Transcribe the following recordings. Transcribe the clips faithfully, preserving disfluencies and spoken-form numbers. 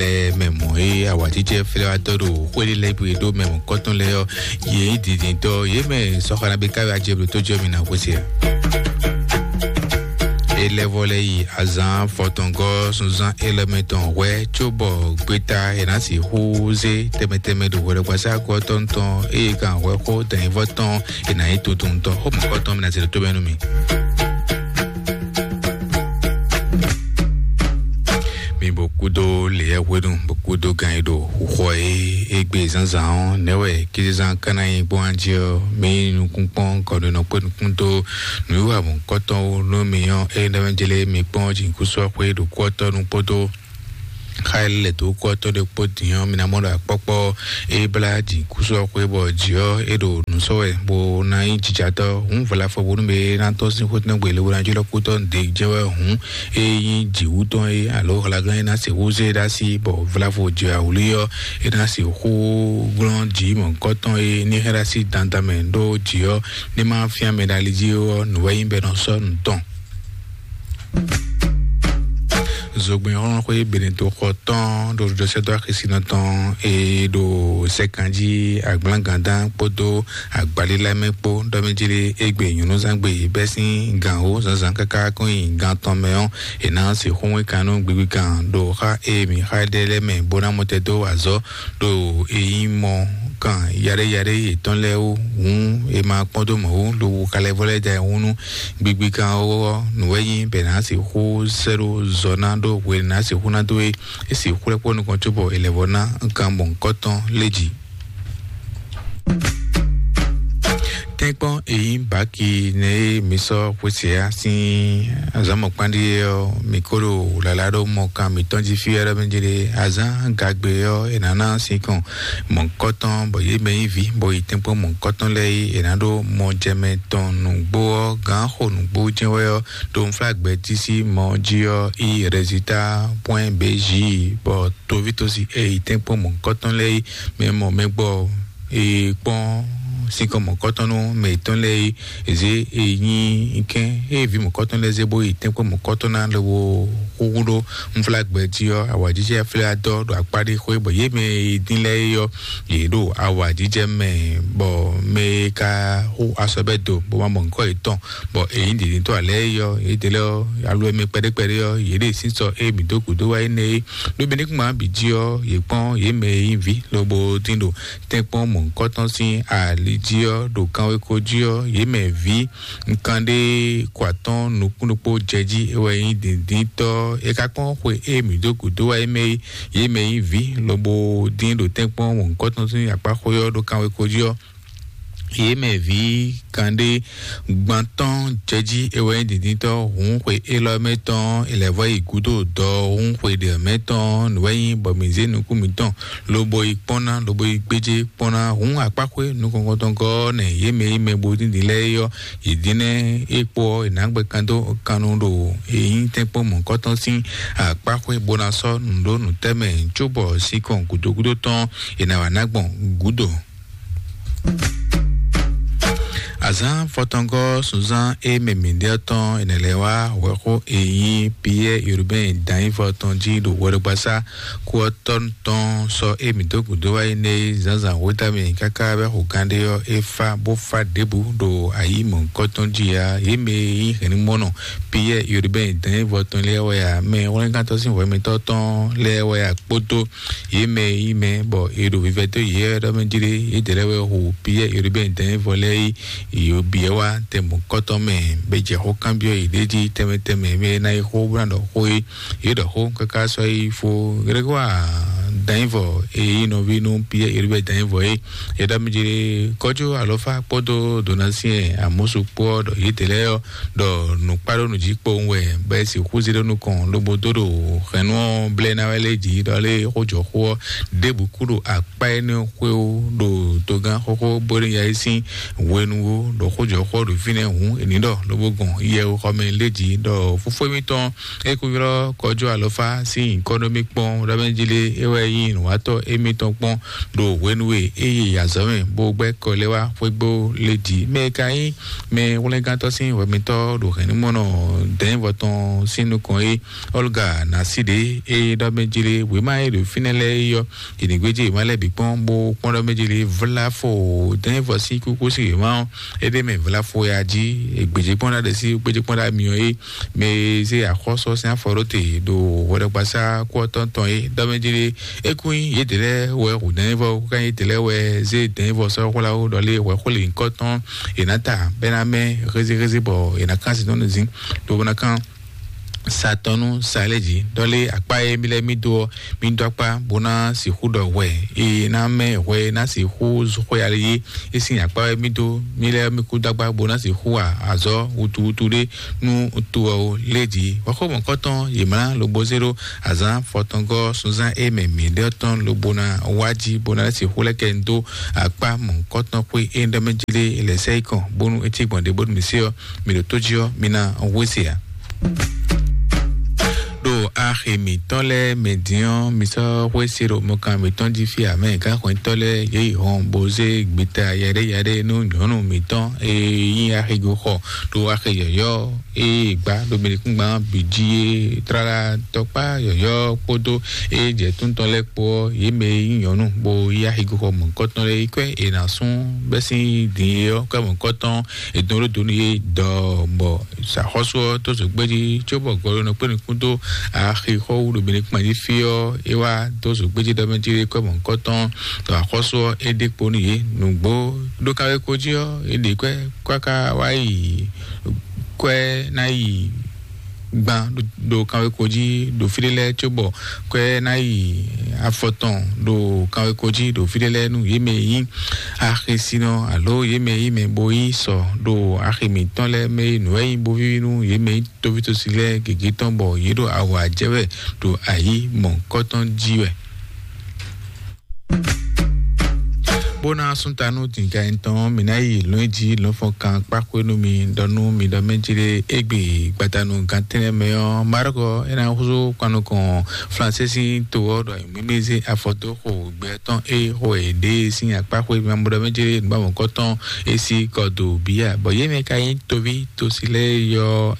lɛ mɛ mɔ e awatijɛ flɛ wa tɔ ɖo xwéli lɛ gbe ɖo mɛ mɔ kɔtɔn lɛ yɔ, yě nyí dǐndíntɔ yě mɛ sɔxana bí káwé ajɛ bló tó jɔ mi na xwé se. Elɛvɔ lɛ yi azan fɔtɔngɔ sunzan elɛmɛ tɔn hwɛ cóbɔ gbeta yě ná si xú zé tɛmɛtɛmɛ ɖo hwɛɖɔgbasá kɔtɔn tɔn eye kan hwɛ xó dɛnyivɔ tɔn yě ná nyí tuntun tɔn xó mɔkɔtɔn mi ná se ɖo tó mɛ nú mi. Mi bó kúdó leyɛ hwenu bó kúdó gan yi ɖo xɔ e égbé zánzán ɔ́ nɛ́ wɛ kízán ká ná nyi gbɔn anjí ɔ́, mi nukún kpɔ́n kɔnu nɔ kpé nukún dó nǔwiwa mɔ̌kɔtɔn wú nú mi ɔ́, é nɛ́ wɛ jlé mi kpɔ́n jǐkúsú ɔ́ xwé ɖo kú ɔ́ tɔ́ nu kpódó xa e lɛ dó kú ɔ́ tɔ́ ɖé kpó din ɔ́, mi ná mɔ ɖo akpɔ́kpɔ́ é blá jǐkúsú ɔ́ xwé bɔ jǐ ɔ́ é ɖo nǔ sɔ́ wɛ bó ná nyí jijatɔ́. Hǔn vla fɔ bónú mɛ e ná tɔ́n sín xótínɔ́ gbe le wó ná jlɔ́ kú tɔn ɖě jɛ wɛ hǔn é nyí jǐwú tɔn é alo hlaglán é ná se húzú é ɖó así bɔ vlavo jɛ awlí ɔ́ é ná se xú glɔ́n jǐ mɔ̌kɔtɔn é ní hɛn ɖó así dandan mɛ ɖó jǐ ɔ́ ní má fyán mɛ ɖo ali jí ɔ́ nǔ wɛ nyí bɔ é nɔ sɔ́ nǔ tɔn. Zogbɛn xlɔ́nxwé Benito xɔ tɔn ɖo ɖoɖosɛ́dó axisínɔ tɔn e ɖo sɛkan jí agblangandán kpódó agbalílá mɛ kpó ɖɔ mɛ jí ɖe égbé nyɔ̌núzán gbe bɛ́ sín gǎn wó zǎnzǎn káká kɔn nyi gan tɔn mɛ ɔ́, è nǎ se xó wɛn kan nú gbigbigan ɖo xá e mǐ xa ɖe lɛ́ɛ mɛ bó ná mɔ tɛ́ dó azɔ̌ ɖo e nyí mɔ kan yaɖéyaɖé yětɔn lɛ́ɛ wú hǔn è ma kpɔ́n dó mɔ̌ wú lobo ka lɛ́ vɔ lɛ́ da ayihún nú gbigbigan ɔ́. Nǔ wɛ nyí bɛ è nǎ sixú sɛ́ ɖó zɔ ná ɖó hwe è nǎ sixú ná dó é. É sixú lɛ́ kpɔ́ nukɔn cóbɔ è lɛ̌ vɔ ná kan mɔ̌hunkɔtɔn lé jǐ. Tɛ́nkpɔ́n e nyí baki nɛ e mi sɔ́ xwesɛ́a sín azǎn mɔ̌kpán ɖíe ɔ́, mi ko ɖo wlǎlá ɖó mɔkan mǐtɔn jí fí wɛ ɖɔ mɛ jí ɖe azǎn gagbe ɔ́ è nǎ ná sinkɔn mɔ̌kɔtɔn bɔ yě mɛ nyí vǐ bɔ yi tɛ́nkpɔ́n mɔ̌kɔtɔn lɛ́ɛ é è nǎ ɖó mɔjɛmɛ tɔn nǔgbó ɔ́ gǎn xo nǔgbó jɛ́n wɛ ɔ́ ɖo unflágbɛ́ tísí mɔ jí ɔ́ í rɛzitá pwɛ́n bějí bɔ tovítosi e yi tɛ́nkpɔ́n mɔ̌kɔtɔn lɛ́ɛ é mɛ mɔ mɛ gbɔ e kpɔ́n sinkɔn mɔ̌kɔtɔn nú mɛ yětɔn lɛ́ɛ é. Eze e nyí kɛn e vǐ mɔ̌kɔtɔn lɛ́ɛ zé bó yi tɛ́nkpɔ́n mɔ̌kɔtɔn ná lobo xúxú ɖó unflágbɛ́ jí ɔ́ awǎjijɛ flɛ́ adɔ ɖo akpá ɖé xwé bɔ yě mɛ e dín lɛ́ɛ é ɔ́ yě ɖo awǎjijɛ mɛ bɔ mɛ e ka xú asɔbɛ́ do bó ma mɔ nǔkɔ yětɔn bɔ è nyí dǐndíntɔ́ alɛ́ é ɔ́ yě dě lɛ́ ɔ́ alo e mɛ kpɛɖékpɛɖé ɔ́ yě ɖe sísɔ e mǐ dó gǔdo wá énɛ́ é. Ɖó mɛ ní kún má bǐ jí ɔ́ yě kpɔ́n yě mɛ e nyí vǐ lobo dín ɖo tɛ́nkpɔ́n mɔ̌hunkɔtɔn sín ali jí ɔ́ ɖo kanweko jí ɔ́ yě mɛ vǐ nkan ɖé kɔ atɔ́n nukún ɖokpó jɛ jí é wɛ nyí dǐndíntɔ́ é ka kpɔ́n xwe e mǐ dó gǔdo wá é mɛ é. Yě mɛ nyí vǐ lobo dín ɖo tɛ́nkpɔ́n mɔ̌hunkɔtɔn sín akpá xwé ɔ́ ɖo kanweko jí ɔ́ yě mɛ vǐ kanɖé gbantɔ́n jɛjí é wɛ nyí dǐndíntɔ́ hǔn xwe élɔ́ mɛ tɔn è lɛ̌ vɔ yi gǔdo dɔ hǔn xwe ɖě mɛ tɔn nǔ wɛ nyí bɔ mǐ zé nukún mǐtɔn lobo yi kpɔ́n ná lobo yi gbéjé kpɔ́n ná hǔn akpáxwé nukɔntɔn gɔ́ nɛ yě mɛ yi mɛ bo díndín lɛ́ɛ é ɔ́ yě dín nɛ́ é kpó ɔ́ è nǎ gbɛ kan dó kannu ɖo è nyí tɛ́nkpɔ́n mɔ̌kɔtɔn sín akpáxwé bó ná sɔ́ nǔ ɖó nǔtɛ́mɛ cóbɔ sinkɔn gǔdo gúdo tɔn è nǎ wá ná gbɔn gǔdo. Azǎn fɔtɔngɔ́ sunzán e mɛ mǐɖé ɔ́ tɔn enɛ lɛ́ɛ wá hwɛxó e nyí Piyɛ́ɛ Urubɛ́n Danyífɔ tɔn jí ɖo hwɛɖogbasá kú ɔ́ tɔn tɔn sɔ e mǐ dó gǔdo wá énɛ́ é zǎnzǎn hwetá mɛ káká bɛ́ xo gánɖé ɔ́ é fá bó fá ɖěbǔ ɖo ayǐ mɔ̌hunkɔtɔn jí ǎ. Yě mɛ e nyí hɛ̌nnumɔnɔ Piyɛ́ɛ Urubɛ́n Danyífɔ tɔn lɛ́ɛ wɛ ǎ, mɛ hwlɛ́ngántɔ́ sín hwɛmɛtɔ́ tɔn lɛ́ɛ wɛ ǎ kpódó yě mɛ e nyí mɛ bɔ è ɖo vivɛ dó yě wɛ ɖɔ mɛ jí ɖé yědɛɛ lɛ́ɛ wɛ hu Piyɛ́ɛ Urubɛ́n Danyífɔ lɛ́ɛ yi yǒ biɛ wá tɛnmɔ̌kɔtɔn mɛ bɛ jɛ xó kanbyɔ́ yě ɖ'é jí tɛnmɛ tɛnmɛ mɛ e ná yi xó bó ná ɖɔ xó é. Yě ɖɔ xó káká sɔ́ yi fó Grégoire Danyífɔ e nyí nɔví nú Piyɛ́ɛ Urubɛ́n Danyífɔ é. Yě ɖɔ mɛ jí ɖé kɔjú alɔfá kpódó Donasiɛn Amɔ́su kpó ɔ́ ɖɔ yědɛɛ lɛ́ɛ ɔ́ ɖɔ nǔkpá ɖó nǔ jí kpowun wɛ bɔ é sixú zé ɖó nukɔn lobo dó ɖo hɛ̌nnu ɔ́ blɛ́ ná wɛ lé jǐ ɖɔ lé xójɔxó ɔ́ ɖěbǔ kú ɖo akpá énɛ́ xwé wú ɖo togán xóxó bó ɖo ya yí sín hwenu wú ɖo xójɔxó ɔ́ ɖo fínɛ́ hǔn è nǐ ɖɔ lobo gbɔn yɛwexɔmɛ lé jǐ ɖɔ fófó émítɔn é kú ylɔ́ kɔjú alɔfá sín nyǐkɔ nú mì kpɔ́n ɖɔ mɛ jí lé é wɛ nyí nyi nǔwatɔ́ émítɔn kpɔ́n ɖo hwenu e é yi azɔ̌ mɛ bó gbɛ́ kɔ lɛ́ wá xwégbó lé jí. Mɛ e ka nyí mɛ hwlɛ́ngántɔ́ sín hwɛmitɔ́ ɖo hɛ̌nnumɔnɔ dɛ̌nvɔ tɔn sín nukɔn é, Olga Naside, é ɖɔ mɛ jlé wěma e ɖo fínɛ́ lɛ́ɛ é ɔ́, yě ní gbéjé wěma lɛ́ɛ bǐ kpɔ́n bó kpɔ́n ɖɔ mɛ jlé vlá fo dɛ̌nvɔ sín kúkú sín wěma ɔ́, é ɖ'é mɛ vlá fo ya jí. È gbějé kpɔ́n ɖa ɖe sí gbéjé kpɔ́n ɖa myɔ é, mɛ e zé axɔ́sú ɔ́ sín afɔ ɖó te ɖo hwɛɖɔgbasá kú ɔ́ tɔn tɔn é. Dɔmɛjlé é kún nyí yědɛɛ lɛ́ɛ wɛ hu dɛ̌nvɔ, kúká nyí yědɛɛ lɛ́ɛ wɛ zé dɛ̌nvɔ sɔ́ hwlá ó ɖɔ lé hwɛxó lǐnkɔ́ tɔn è nǎ ta bɛ́ ná mɛ hézéhézé bɔ è nǎ kán sin tɔn zin ɖó bó ná kán sa tɔn nú sa lɛ́ɛ jí. Ɖɔ lé akpá e mí lɛ́ɛ mí dó ɔ́, mí dó akpá bó ná sixú ɖɔ hwɛ e ná mɛ hwɛ e ná sixú xwé ali é. É sín akpá wɛ mí dó mí lɛ́ɛ mí kú dó akpá bó ná sixú wa azɔ̌ wutuwutu ɖé nú to ɔ́ lé jí. Hwɛxó mɔ̌kɔtɔn yě mlá lobo zé ɖó azǎn fɔtɔngɔ́ sunzán e mɛ mǐ ɖe ɔ́ tɔn lobo ná wá jí bó ná sixú lɛ́ kɛ dó akpá mɔ̌kɔtɔn xwé e ɖɔ mɛ jí lé lɛ̌ sɛ yi kɔn bónú é cí gbɔn ɖě bónú mǐ se ɔ́, mǐ ɖo tó jí ɔ́, mǐ ná wé se ǎ. Ɖo axi mǐtɔn lɛ́ɛ mɛ din ɔ́, mi sɔ́ xwé se ɖo mɔkan mǐtɔn jí fí amɛ gǎnxwɛ́ntɔ́ lɛ́ɛ yě yi hɔn bó zé gbeta yaɖé yaɖé nú nyɔ̌nu mǐtɔn e nyí axigoxɔ ɖo axi yɔ̌yɔ́ e gbá ɖo mɛɖekúngban bǐ jí é, tlala tɔkpá yɔ̌yɔ́ kpódó e jɛ túntɔn lɛ́ɛ kpó ɔ́, yě mɛ e nyí nyɔ̌nu bó yí axigoxɔ mɔ̌hunkɔtɔn lɛ́ɛ yi kwɛ́ è nǎ sún bɛ́ sín din é ɔ́, kwɛ́ mɔ̌hunkɔtɔn è dɔn ɖó do nú yě dɔɔ bɔ Sǎxɔ́sú ɔ́ dó zǒgbéjí cóbɔ gɔɖonɔ kpé nukún dó axixɔ́ wú ɖo Benekpán jí fí ɔ́, é wá dó zǒgbéjí ɖɔ mɛ jí kɔ́ mɔ̌hunkɔtɔn ɖɔ axɔ́sú ɔ́ é ɖe kpo nú yě. Nǔgbó ɖó kanwéko jí ɔ́, é ɖe kwɛ́ káká wá yi kwɛ́ ná yi gban ɖo kanwéko jí ɖo fí ɖé lɛ́ɛ cóbɔ kwɛ́ ná yi afɔtɔn ɖo kanwéko jí ɖo fí ɖé lɛ́ɛ nú yě mɛ e nyí axisinɔ alo yě mɛ e nyí mɛ bo yí sɔ ɖo axi mǐtɔn lɛ́ɛ mɛ e nǔ wɛ nyí bo víví nú yě mɛ e nyí tóvítósi lɛ́ɛ gěgé tɔn bɔ yě ɖo awǎ jɛ wɛ ɖo ayǐ mɔ̌hunkɔtɔn jí wɛ. Bó ná sún ta nú dǐnká tɔn, mǐ ná yi lɔ̌n jí lɔ̌nfɔ́n kan kpáxwé nú mi ɖɔ nú mi ɖɔ mɛ jí ɖé égbé gbadanu gantɛ́nɛ́ mɛ ɔ́, Marɔ́k é ná húzú kpan nukɔn Flansé sín to ɔ́ ɖɔ mǐmí zé afɔ dó xo gbɛ tɔn e xo è ɖe sín akpáxwé mɛ bó ɖɔ mɛ jí ɖé nǔgbàmɔkɔ́ tɔn é sí kɔ do bíyà, bɔ yě mɛ ka nyí toví tosi lɛ́ɛ yɔ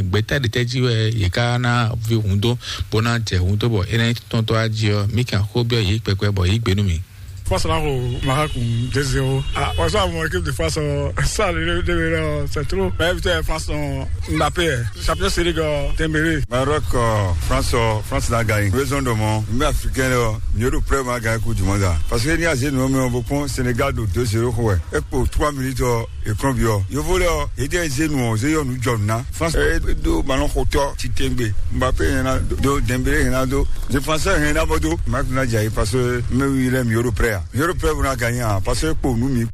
gbɛ̌ta ɖě tɛ́ jí wɛ yě ká ná ví hǔn dó bó ná jɛ hǔn dó bɔ é ná nyí tɔntɔ́ á jí ɔ́, mǐ kan xó byɔ́ yě kpɛkpɛ bɔ yí gbe nú mì. Face là au Maroc deux zéro. Ah, on joue à mon équipe de face, euh, ça, le, le, le, le, c'est trop. Mais putain, France, on, Mbappé, eh, champion série, euh, Dembélé. Maroc, euh, France, euh, France l'a gagné. Raison de mon, mais africain, là, mieux de preuve, on a gagné Coupe du Monde, là. Parce que ni a zé nous, mais on beaucoup, Sénégal, de deux zéro, quoi. Et pour trois minutes, euh, écran bio. Yo volé, euh, et des zé nous, on zé, nous, John, na. France, eh, do ballon, koto, Titengbe, Mbappé, il y en a, do, Dembélé, il y en a, do, défenseur, il y en a, Bodo. Marc Nadjaï, parce que, mais oui, il est mieux de prêt, hein. Mieux de prêt, on a gagné, hein, parce que pour nous, mi-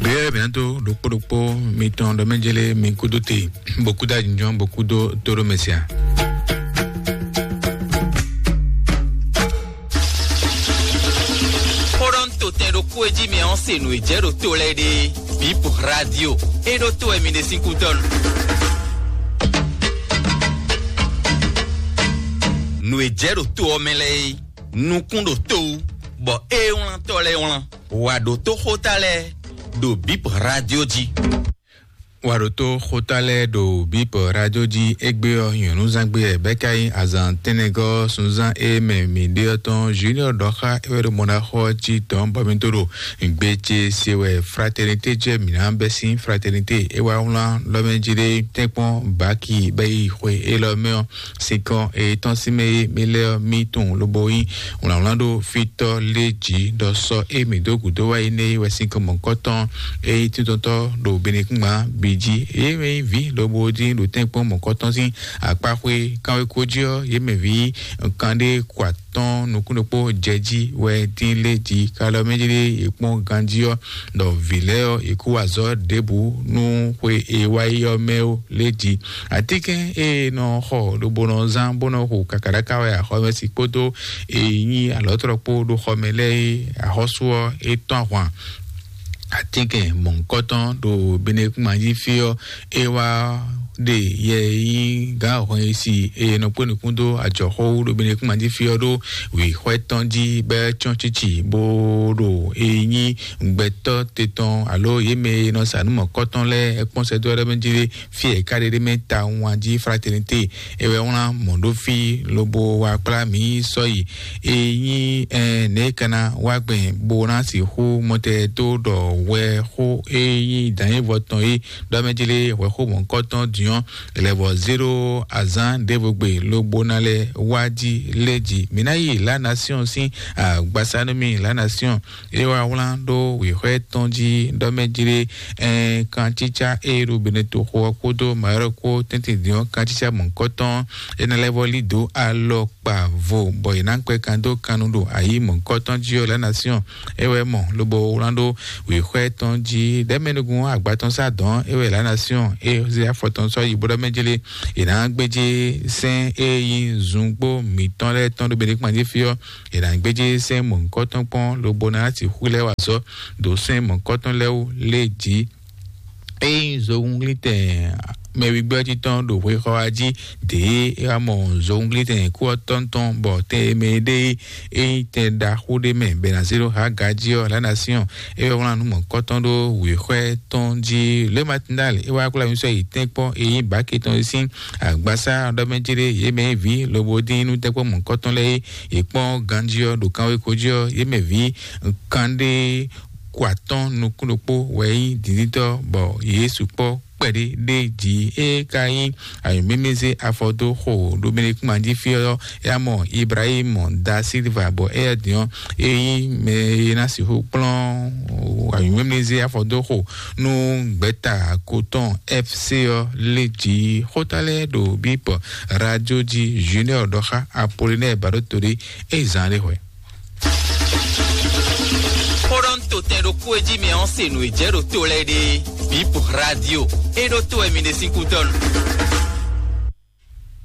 Bia bientôt, dokpo dokpo, mi tɔn dɔ mɛ jele, mi kudo te, bokuda junjɔn, bokudo toro mesia. Xó ɖɔ un to tɛn ɖokpó e jí mi ɔ́ se nǔ e jɛ ɖo to lɛ́ɛ ɖe. Bip Radio. E ɖo to wɛ mi ɖe sín kútɔ́ nu. Nǔ e jɛ ɖo to ɔ́ mɛ lɛ́ɛ é, nukún ɖo to wú, bɔ é wlántɔ́ lɛ́ɛ wlán. Wǎ ɖo tó xóta lɛ́ɛ ɖo Bip Radio jí. Wǎ ɖo tó xóta lɛ́ɛ ɖo Bip Radio jí. Égbé ɔ́, nyɔ̌núzán gbé wɛ bɛ́ ka nyí azǎn tɛ́nnɛgɔ́ sunzán e mɛ mǐ ɖe ɔ́ tɔn Junior ɖɔ xá é wɛ ɖo mɔ ná xɔ ɔ́ jí dɔ̌n bɔ mì dó ɖo gbe ce se wɛ Fraternité jɛ mǐ ná bɛ́ sín. Fraternité é wá wlán lɔmɛ jí ɖé tɛ́nkpɔ́n baki bɛ́ yi xwe élɔ́ mɛ ɔ́, sinkɔn e tɔ́n sín mɛ e mì lɛ́ ɔ́ mì tunwun lobo nyí wlǎnwlán ɖó fítɔ́ lé jǐ ɖɔ sɔ́ e mǐ dó gǔdo wá yi nɛ́ é wɛ sinkɔn mɔ̌kɔtɔn e nyí tíntɔ́ntɔ́ ɖo Benekúngban bǐ jí. Yě mɛ nyí vǐ lobo dín ɖo tɛ́nkpɔ́n mɔ̌kɔtɔn sín akpáxwé kanwéko jí ɔ́, yě mɛ vǐ kanɖé kɔ atɔ́n nukún ɖokpó jɛ jí wɛ dín lé jí. Kalɔ mɛ jí ɖé yě kpɔ́n ganjí ɔ́, ɖɔ vǐ lɛ́ɛ ɔ́, yě kú wa azɔ̌ ɖěbǔ nú xwe e wá yi ɔ́ mɛ ó lé jí. Atínkɛn e nɔ xɔ lobo nɔ zán bó nɔ xo kakaɖáká wɛ axɔ́mɛsi kpódó e nyí alɔ̌tlɔ kpó ɖo xɔmɛ lɛ́ɛ é, axɔ́sú ɔ́, é tɔ́n ahwan. Atínkɛn mɔ̌hunkɔtɔn ɖo Benekúngban jí fí ɔ́, é wá ɖe yɛ e nyí gǎn hɔn e si e nɔ kpé nukún dó ajɔxó ɖo Benekúnma jí fí ɔ́ ɖó wǐxwɛ́ tɔn jí bɔ é cɔ́n cíci bó ɖo e nyí gbɛtɔ́ te tɔn alo yě mɛ e nɔ sa nǔ mɔ̌kɔtɔn lɛ́ɛ é kpɔ́n sɛ́dó ɔ́ ɖé mɛ jí ɖé fí e è ká ɖe ɖé mɛ tawun jí Fraternité é wɛ wlán mɔ̌ ɖó fí lobo wá kplá mǐ sɔ́ yi e nyí nɛ̌ ka ná wá gbɛn bó ná sixú mɔtɛ dó ɖɔ hwɛ xó e nyí dǎnyévɔ tɔn é ɖɔ mɛ jí lé hwɛ xó mɔ̌hunkɔtɔn diɔn lɛvɔ zéro azán ɖěvo gbe lobo ná lɛ wá jí lé jí. Mǐ ná yi La Nation sín agbasanúmi La Nation é wá wlán ɖó wěxwɛ́ tɔn jí ɖɔ mɛ jí lé kancícá e ɖo Beneto xó ɔ́ kpódó Mayɔ́rɔ kpó tɛ́ntin diɔn kancícá mɔ̌hunkɔtɔn é ná lɛ́ vɔ lí dǒ alɔ kpa vo bɔ è nǎ kpɛ kan dó kannu ɖo ayǐ mɔ̌hunkɔtɔn jí ɔ́. La Nation é wɛ mɔ lobo wlán ɖó wěxwɛ́ tɔn jí ɖɛ̌mɛnugun agba tɔn sá dɔn é wɛ La Nation é zé afɔ tɔn sɔ́ yi bó ɖɔ mɛ jlé è nǎ gbéjé sɛ́n e nyí zungbó mǐtɔn lɛ́ɛ tɔn ɖo Benekúnma jí fí ɔ́. È nǎ gbéjé sɛ́n mɔ̌hunkɔtɔn kpɔ́n lobo ná sixú lɛ́ wa azɔ̌ ɖo sɛ́n mɔ̌hunkɔtɔn lɛ́ɛ wú lé jí. Ényí zohúnglítɛn mɛwigbɔ́ jí tɔn ɖo hwexɔ wá jí dě é wá mɔ zohúnglítɛn kú ɔ́ tɔn tɔn bɔ tɛn e mɛ e ɖe é ényí tɛn ɖaxó ɖé mɛ bɛ ná zé ɖó Haga jí ɔ́, La Nation é wá wlán nú mɔ̌kɔtɔn ɖó wěxwɛ́ tɔn jí. Le Matinal é wá kplá mi sɔ́ yi tɛ́nkpɔ́n e nyí bǎke tɔn e sín agbasá ɖɔ mɛ jí ɖé yě mɛ vǐ lobo dín nú tɛ́nkpɔ́n mɔ̌kɔtɔn lɛ́ɛ é yě kpɔ́n ganjí ɔ́ ɖo kanwéko jí ɔ́, yě mɛ vǐ kanɖé kó atɔ́n nukún ɖokpó wɛ nyí dǐndíntɔ́ bɔ yě sukpɔ́ kpɛɖé ɖé jí. É ka nyí ayǐmímízé afɔ dó xo ɖo Benekúnma jí fí ɔ́, é wá mɔ Ibrahim da Silva bɔ éyɛ́ din ɔ́, é nyí mɛ e ná sixú kplɔ́n ayǐmímízé afɔ dó xo nú gbɛ̌ta ko tɔn F C ɔ́ lé jí. Xóta lɛ́ɛ ɖo bípɔ radio jí Junior ɖɔ xá Apollinaire Baɖótolí é zán ɖé hwɛ. Xó ɖɔ un to tɛn ɖokpó e jí mɛ ɔ́ se nǔ e jɛ ɖo to lɛ́ɛ ɖe. Bip radio é ɖó to wɛ mi ɖe sín kútɔ́nu.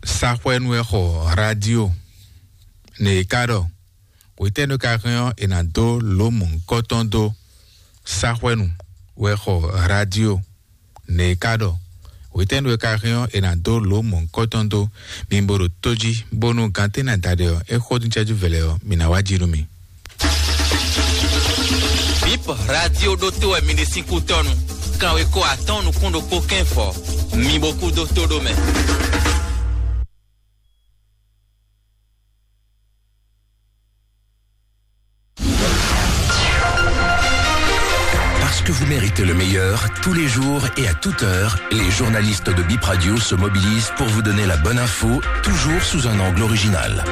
Saxwɛnu wɛ xɔ radio nɛ e ka ɖɔ hwetɛ́nu ka hɛn ɔ́ è nǎ dó lǒ mɔ̌hunkɔtɔn dó. Saxwɛnu wɛ xɔ radio nɛ e ka ɖɔ hwetɛ́nu e ka hɛn ɔ́ è nǎ dó lǒ mɔ̌hunkɔtɔn dó. Mi bo ɖo tó jí bónú gantɛ́ ná da ɖe ɔ́ é xó dín cɛ́jú vɛlɛ ɔ́ mi ná wá jí nú mi. Bip radio ɖótó wɛ mi ɖe sín kútɔ́nu. Kanwekó atɔ́ɔ́n nukún ɖokpó kɛ́n fɔ. Mi bo kú dó tó ɖó mɛ. Parce que vous méritez le meilleur, tous les jours et à toute heure, les journalistes de Bip Radio se mobilisent pour vous donner la bonne info, toujours sous un angle original.